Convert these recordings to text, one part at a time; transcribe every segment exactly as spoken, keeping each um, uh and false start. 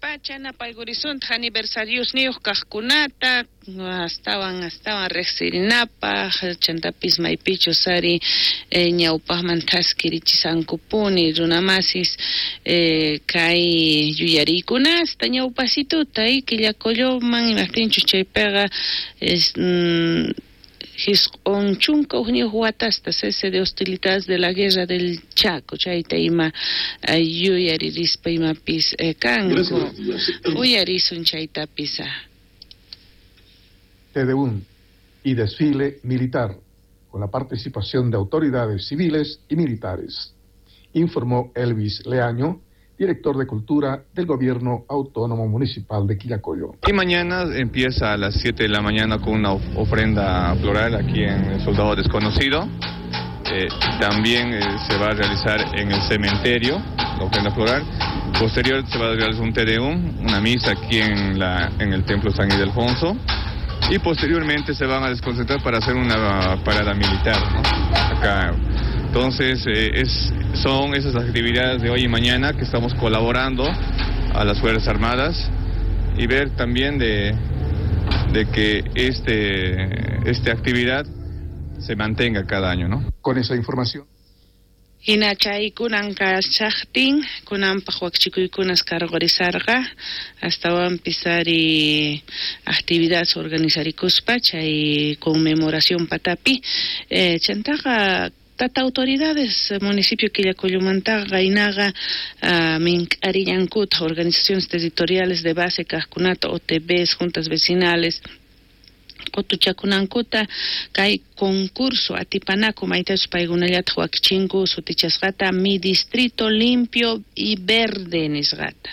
Chaypacha napaykurisuntaq aniversariosniyuq kaqkunata astawan astawan riqsirinapaq chantapis maypichus ari eh, ñawpaqman thaskirichisankupuni runamasis eh, kay yuyariykunasta ñawpasituta y Quillacolloman imaptinchus chaypiqa es, mm, jisq'un chunka hukniyuq watasta cese de hostilidades de la guerra del Chaco chayta ima eh, yuyaririspa imapis eh, kanku uyarisun chaytapis. Te Deum y desfile militar con la participación de autoridades civiles y militares, informó Elvis Leaño, director de Cultura del Gobierno Autónomo Municipal de Quillacollo. Y mañana empieza a las siete de la mañana con una ofrenda floral aquí en el Soldado Desconocido. Eh, también eh, se va a realizar en el cementerio la ofrenda floral. Posterior se va a realizar un Te Deum, una misa aquí en, la, en el Templo San Ildefonso. Y posteriormente se van a desconcentrar para hacer una parada militar, ¿no? Acá. Entonces, eh, es, son esas actividades de hoy y mañana que estamos colaborando a las Fuerzas Armadas y ver también de, de que este, esta actividad se mantenga cada año, ¿no? Con esa información. Hina chay kunan kashaqtin kunanpaq wakchikuykunas karqurisarqa astawanpis ari actividades organizarikuspa chay conmemoración patapi eh, chantaqa tata autoridades municipio Quillacollomantaqa qaynaqa uh, mink'arillankuta organizaciones territoriales de base kaqkunata O T Bs, juntas vecinales qutuchakunankuta kay concurso atipanaku maytachus paykunallataq wakichinku sutichasqata mi distrito limpio y verde nisqata.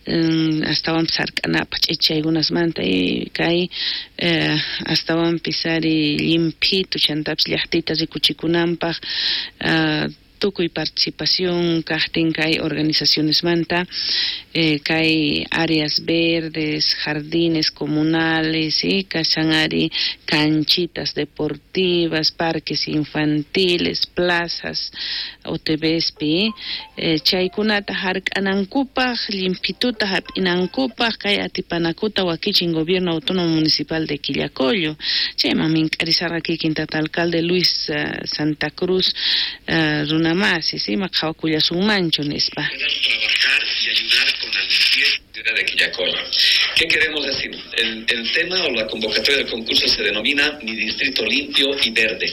Um, astawanpis hark'anapaq ch'ichaykunasmanta y kay eh, astawanpis ari llimphitu chantapis llaqtita rikuchikunanpaq uh, tukuy participación kaqtin kay organizacionesmanta eh, kay áreas verdes, jardines comunales y kashan ari canchitas deportivas, parques infantiles, plazas, O T Bspi eh, chaykunata hark'anankupaq, llimpituta hap'inankupaq kay atipanakuta wakichin Gobierno Autónomo Municipal de Quillacollo. Chayman mink'arisarqa kikin tata alcalde Luis uh, Santa Cruz uh, runa masis, ima qhawakullasunmanchu nispa. Trabajar y ayudar con la limpieza de Quillacollo. ¿Qué queremos decir? El, el tema o la convocatoria del concurso se denomina Mi Distrito Limpio y Verde.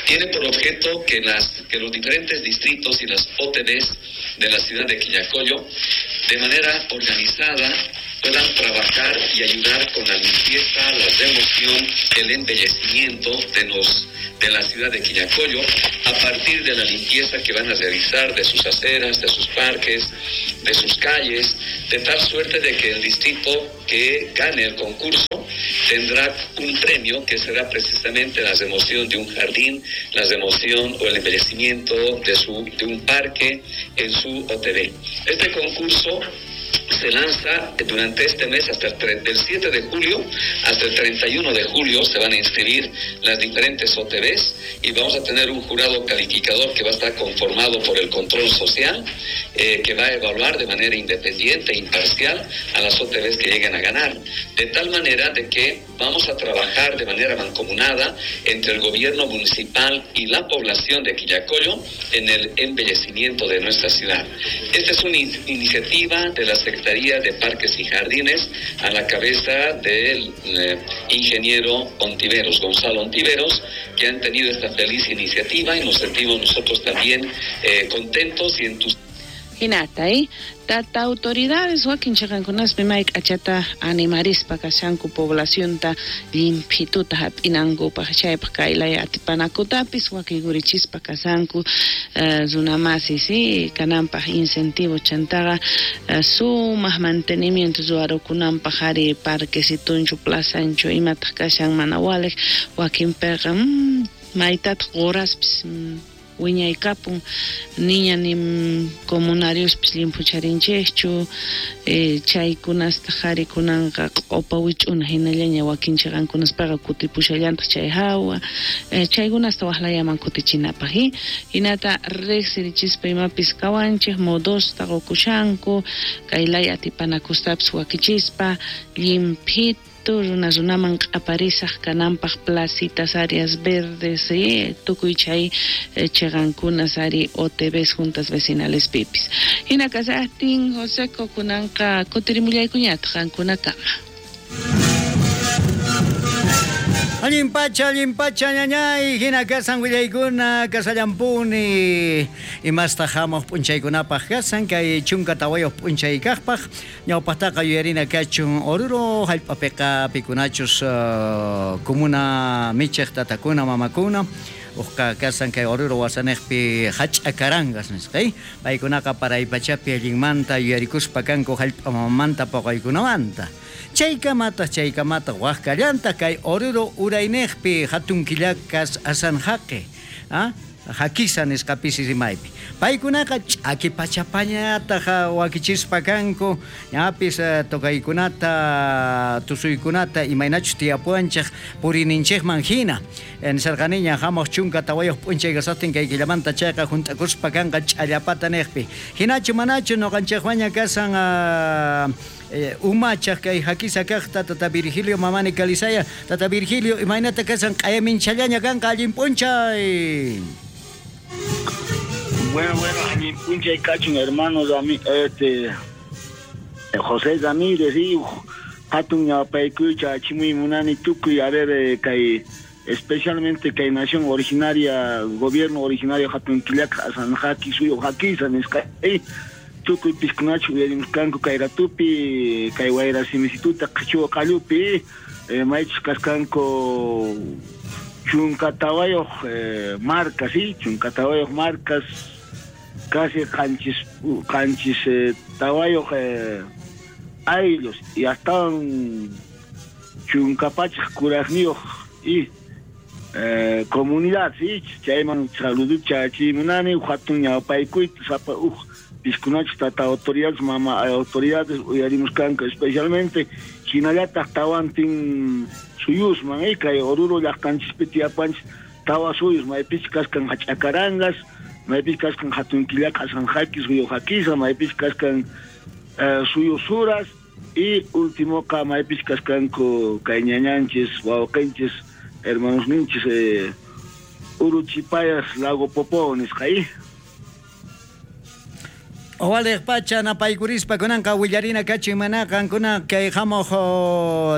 Tiene por objeto que, las, que los diferentes distritos y las O T Bs de la ciudad de Quillacollo, de manera organizada, puedan trabajar y ayudar con la limpieza, la remoción, el embellecimiento de los de la ciudad de Quillacollo, a partir de la limpieza que van a realizar de sus aceras, de sus parques, de sus calles, de tal suerte de que el distrito que gane el concurso tendrá un premio que será precisamente la remoción de un jardín, la remoción o el embellecimiento de su, de un parque en su O T B. Este concurso se lanza durante este mes hasta el tre-, del siete de julio hasta el treinta y uno de julio se van a inscribir las diferentes O T Bs y vamos a tener un jurado calificador que va a estar conformado por el control social, eh, que va a evaluar de manera independiente e imparcial a las O T Bs que lleguen a ganar, de tal manera de que vamos a trabajar de manera mancomunada entre el gobierno municipal y la población de Quillacollo en el embellecimiento de nuestra ciudad. Esta es una in-, iniciativa de la Secretaría de Parques y Jardines a la cabeza del, eh, ingeniero Ontiveros, Gonzalo Ontiveros, que han tenido esta feliz iniciativa y nos sentimos nosotros también, eh, contentos y entusiasmados. Hinata, eh? Tata autoridades wakin chaqankunaspi may k'achata animarispa kashanku poblacionta llimpituta hap'inankupaq chaypaq kaylaya atipanakutapis wakigurichispa kashanku, eh, runamasi, sí, kananpaq incentivo chantaqa, eh, sumaq mantenimiento ruwarukunanpaq ari parquesitunchu plazanchu imataq kashan mana waliq wakinpiqa, mm, maytataq quraspis, mm, wiñaykapun niña ni comunariospis llimphucharinchikchu eh, chaykunasta qharikunanqa q'upa wich'una hinallaña wakin chiqankunaspaqa kutipushallantaq chay hawa eh, chaykunasta waqlayaman kutichinapaq eh? Hinata riqsirichispa imapis kawanchik modosta qukushanku kay laya atipanakustapas wakichispa llimphit runa runaman q'aparisaq kananpaq placitas, áreas verdes, eh, tukuy chay eh, chiqankunas ari O T Vs juntas vecinales pipis. Hina kasaqtin Joseco kunanqa kutirimullaykuñataq qankunakama. Allin pacha, allin pacha, ñañay, hina kasan willaykuna, kasallampuni, imasta hamuq p'unchaykunapaq kasan, kay chunka tawayuq p'unchay kaqpaq, ñawpaqtaqa yuyarina kachun Oruro, hallp'apiqa pikunachus uh, comuna michiq tatakuna, mamakuna, uqqa kasan kay Oruro wasaniqpi hach'akarangas nisqa, paykunaqa paraypachapi allinmanta yuyarikuspa kanku hallp'a mamamanta paqaykunamanta. Chaykamataq chaykamataq waqkallanta kay Oruro urayniqpi hatun killakas asanjaqi, ah, hakisa nisqapis rimaypi. Paykunaqa ch'aki pachapañataq wakichispa kanku, ñapis tocaykunata, tusuykunata imaynachus tiyapuwanchik purininchikman hina. Nisarqaniña hamuq chunka tawayuq p'unchay kasaqtin kay killamanta chayqa hunt'akuspa kanqa ch'allapata niqpi. Hinachu manachu ñuqanchikwaña kasan eh, umachaq kay hakisa kaqta tata Virgilio Mamani Calizaya. Tata Virgilio, imaynata kasan q'ayaminchallaña kanqa allin p'unchay. Bueno, bueno, allin p'unchay kachun hermanos, este José Ramírez y hatun ñawpaykuycha achimuy munani tukuy, a ver, kay especialmente kay nación originaria, gobierno originario hatun killaka asanjaki suyu hakisa nisqa tukuy piskunachu uyarimuskanku kay ratupi, kay wayra simisituta qhichwa qallupi, eh, maychus kaskanku chunka tawayuq eh, marcas, sí, chunka tawayuq marcas, casi qanchis qanchis eh, tawayuq eh, ayllus y hasta chunka pachaq kuraqniyuq y eh, comunidad, sí, chayman saluducha achimunani hatun ñawpaykuyta sapa uj piskunachu tata autoridades, mama autoridades uyarimuskanku especialmente hinallataq tawantin suyusman, eh, kay Oruro llaqtanchispi tiyapanchis tawa suyus maypis kaskan hach'akarangas, maypis kaskan hatun killaka asanjaki suyu hakisa, maypis kaskan eh, suyu suras y último ka maypis kaskanku kay ñañanchis wawqinchis hermanos ninchis eh, Uruchipayas Lago Popó nisqa. Waliq pacha napaykurispa kunanqa willarina kachin mana qankuna kay hamuq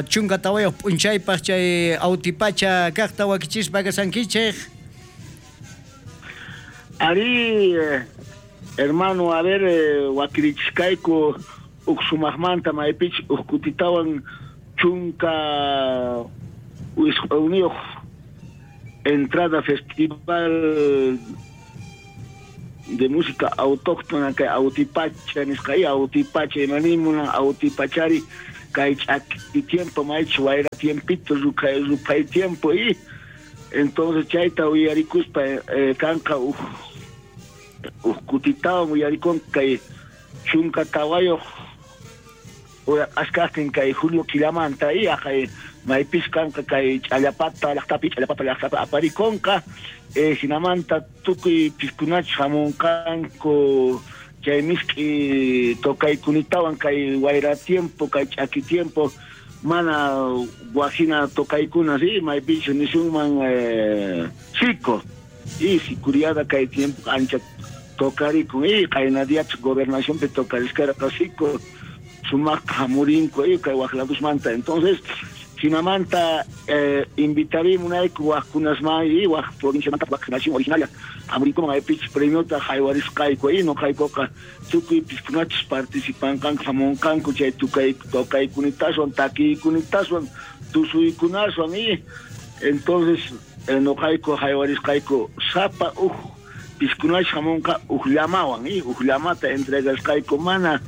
chunka tawayuq p'unchaypaq chay autipacha kaqta wakichispa kasankichik. Ari, eh, hermano, a ver, eh, wakirichiskayku uq sumaqmanta maypich uq kutitawan chunka wisq'uwniyuq entrada festival de música autóctona kay autipacha nisqa, autipacha imanimuna autipachari kay ch'aki tiempo maychus wayra tiempito ruphay ruphay tiempo y entonces chayta uyarikuspa eh, kanqa uj uj kutitawan uyarikun kay chunka tawayuq askaqtin kay julio killamanta y aqay maypis kanqa kay ch'allapata llaqtapi ch'allapata llaqtapi aparikunqa eh, hinamanta tukuy piskunachus hamunqanku chay misk'i tocaykunatawan kay wayra tiempo kay ch'aki tiempo mana wajina tocaykuna sí maypis nisunman eh, sico y sicuriada kay tiempo ancha tocarikun y qaynadiach gobernacionpi tocariskarqa sico sumaqta hamurinku y kay waqladusmanta. Entonces hinamanta eh, invitarimunayku waqkunasman y waq provinciamanta waq nación originaria hamurinkuman maypich premiota haywarisqayku y noqaykuqa tukuy piskunachus participanqanku hamunqanku chay tukay tocaykunataswan takiykunataswan tusuykunaswan y entonces eh, noqayku haywarisqayku sapa uj piskunachus hamunqa uj llamawan y uj llamata entregasqayku mana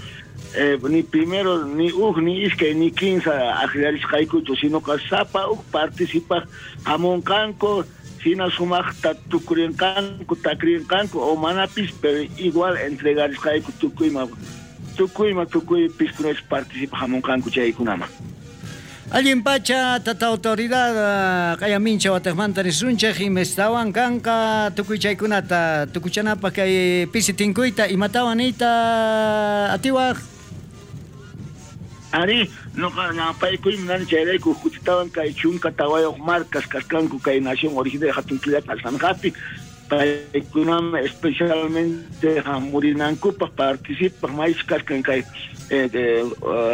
Eh, ni primero, ni uj, ni iskay, ni kinsa akllarisqaykuchu, sino que sapa uj participaq hamunqanku Hina sumaqta tukurinqanku takrinqanku o manapis, pero igual entregarisqayku tukuyma tukuyma tukuy piskunas participa hamunqanku chaykunaman. Allin pacha tata autoridad qayamincha wataqmanta nisunchej imestawan kanqa tukuy chaykunata tukuchanapaq kay pisi tinkuyta imatawan niyta atiwaq. Ari, noqa ñapaykuy munani chayrayku kutitawan kay chunka tawayuq marcas kasqanku kay nación originaria hatun killata Asanjapi paykunaman especialmente hamurinankupaq participaq maych kasqan kay eh,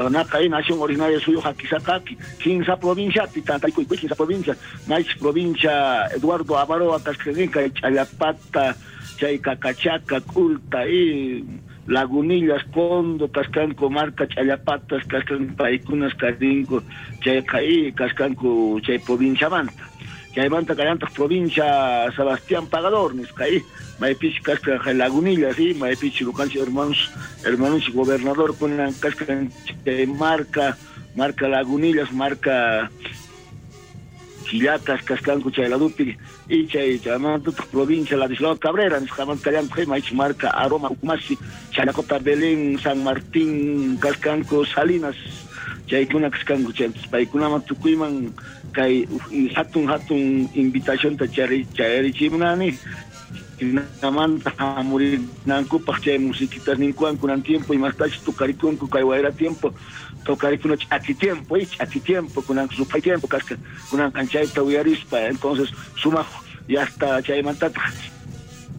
naqay nación originaria suyu hakisaqapi kinsa provinciapi tantaykuy kinsa provincia maych provincia Eduardo Avaroa kasqan kay Challapata chay Cacachaca Culta y Lagunillas, Condo, kasqanku marca Challapatas, kasqanku paykunas karinku chayqa y kasqanku chay provinciamanta. Chaymanta kallantaq provincia Sebastián Pagador nisqa y maypichi kasqan Lagunillas y maypichi ñuqanchik hermanos hermanos gobernador kunan kasqan chay marca marca Lagunillas, marca Quillacas, kasqanku chay ladupi y chay chaymantataq provincia Ladislao Cabrera nisqamanta kallantaq maychi marca Aroma, Ucumasi, Chanacota, Belén, San Martín, kasqanku Salinas chaykuna kasqanku chay paykunaman tukuyman kay hatun hatun invitacionta chayarichimunani hinamanta hamurinankupaq chay musiquitas ninkuwan kunan tiempo imastachus tukarikunku kay wayra tiempo tocarikuna ch'aki tiempo y ch'aki tiempo kunan supay tiempo kasqa kunan kanchayta uyarispa entonces sumaq hasta chaymantataq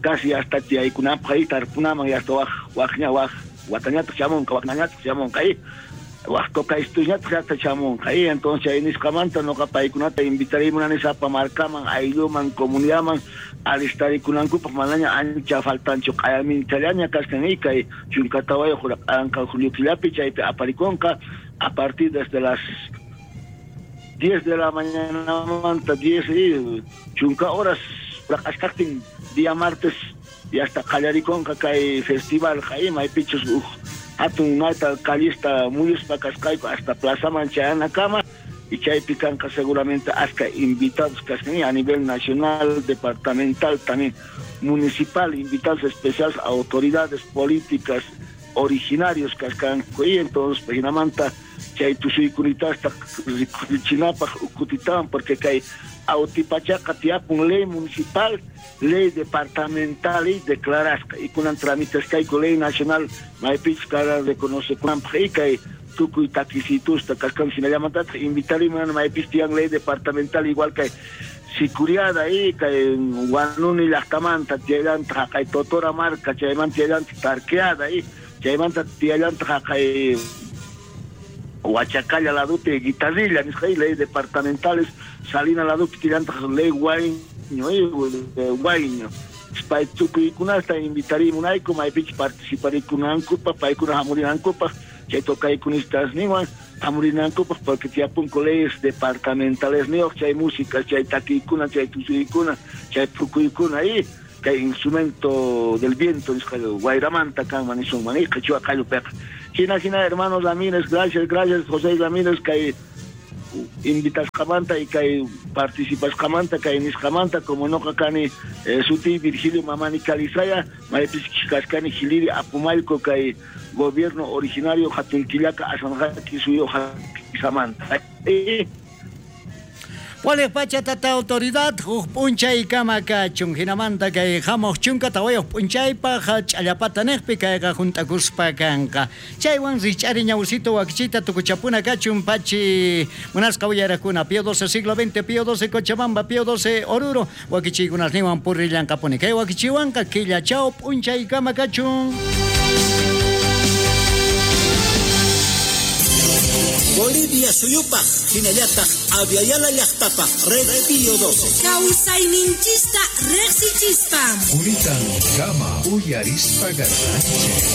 casi hasta tiyaykunapaq y tarpunaman hasta waj wajña waj watañataq chamunqa waqnañataq chamunqa y waj tocaystuñataq hasta chamunqa y entonces chay nisqamanta noqa paykunata invitarimunani sapa markaman aylluman comunidadman alistarikunankupaq manaña ancha faltanchu q'ayaminchallaña kasqan y kay chunka tawayuq q'anqa julio killapi chaypi aparikunqa a partir desde las diez de la mañana diez y chunka horas raq'asqaqtin día martes y hasta qallarikunqa kay festival qay maypichus uj hatun nayta callista muyuspa kasqayku hasta plazaman chayanakama y chaypi kanqa seguramente hasta invitados kasqan a nivel nacional, departamental, también municipal, invitados especiales, autoridades políticas, originarios kasqanku y entonces hinamanta chay tusuykunitasta rikuchinapaq ukutitawan porque kay Autipachaqa tiyapun ley municipal, ley departamental y declarasqa y kunan trámites kayku ley nacional maypichus kara reconocekunanpaq y kay tukuy takisitusta kasqan hinallamantataq invitarimunan maypis tiyan ley departamental igual kay Sicuriada y kay Huanuni llaqtamanta tiyallantaq haqay Totora marca chaymanta tiyallantaq Tarqueada y chaymanta tiyallantaq haqay Huachacalla ladupi Guitarrilla nisqa y ley departamentales Salina ladupi tiyallantaq ley Guayño y Guayño pay tukuykunasta invitarimunayku maypichus participarikunankupaq paykuna hamurinankupaq chay tocaykunistas niwan hamurinankupaq porque tiyapunku leyes departamentales niyuq chay música chay takiykuna chay tusuykuna chay pukuykuna y kay instrumento del viento nisqa wayramanta kanman nisunman y qhichwa qallupiqa hina hina hermanos Ramírez, gracias gracias José Ramírez kay invitasqamanta y kay participasqamanta kay nisqamanta como noqa kani eh, suti Virgilio Mamani Calizaya maypis kashkani Jiliri Apumalco kay gobierno originario hatun killaka Asanjaki suyu hakisamanta. Waliq pacha tata autoridad huk p'unchay kama kachun hinamanta kay hamuq chunka tawayuq p'unchaypaq ch'allapata niqpi kayqa junt'akuspa kanqa chaywan rich'ari ñawsito wakichita tukuchapuna kachun pachi munasqa uyarakuna Pío doce siglo veinte Pío doce Cochabamba Pío doce Oruro wakichiykunasninwan purillanqapuni kay wakichiwanqa killachaw p'unchay kama kachun. Bolivia suyupaq hinallataq Aviala llaqtapaq Red Pío doce. Kawsayninchista riqsichispa. Unitan kama uyarispa garranchik.